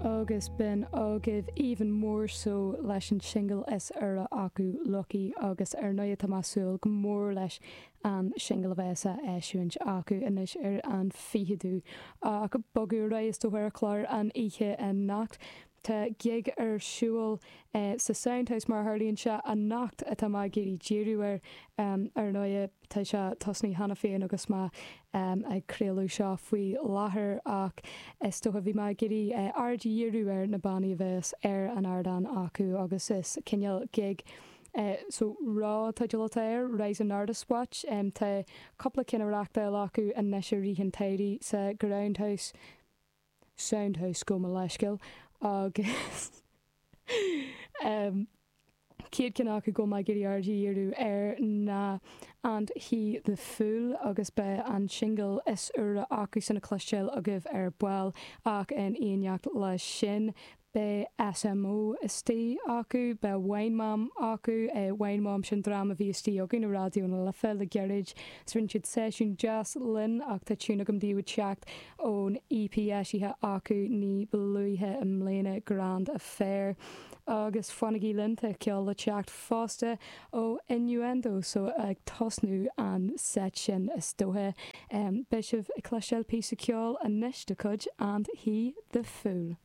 Agus b'in agaibh Even More So leis an singil is úire acu, Lucky, agus ar ndóigh tá mé ag súil go mór leis an singil a bheas á eisiúint acu anois ar an 20ú. Ach bogadh ar aghaidh is dócha ar an chlár an oíche anocht. Tá gig ar siúl sa Soundhouse mar a tharlaíonn sé anocht atá mé ag iarraidh díriú air. Ar ndóigh tá sé tosnaithe cheana féin agus mé ag craoladh seo faoi láthair ach is dócha bhí mé ag iarraidh aird a dhíriú ar na bannaí a bheas ar an ardán acu agus is cineál gig so RAW an teideal atá air, Rising Artists Watch. Tá cúpla ceann á reachtáil acu anois i rith an tsamhraidh sa Groundhouse. Soundhouse gabh mo leithscéal agus chéad cheann acu go bhfuil mé ag iarraidh aird a dhíriú air ná And He The Fool agus beidh an singil is úire acusan le cloisteáil agaibh ar ball ach in éineacht leis sin Beidh SMO istigh acu, beidh Wine Mom acu, Wine Mom sin dream a bhí istigh againn i Raidió na Life le gairid 's rinne siad seisiún deas linn ach tá tiún agam daoibh ag teacht ón EP eisithe acu ní ba luaithe i mbliana, Grand Affair. Agus fanaigí linn, tá ceol le teacht fosta ó Innuendo so ag tosnú an set sin is dócha. Beidh sibh ag cloisteáil píosa ceoil anois de chuid And He The Fool.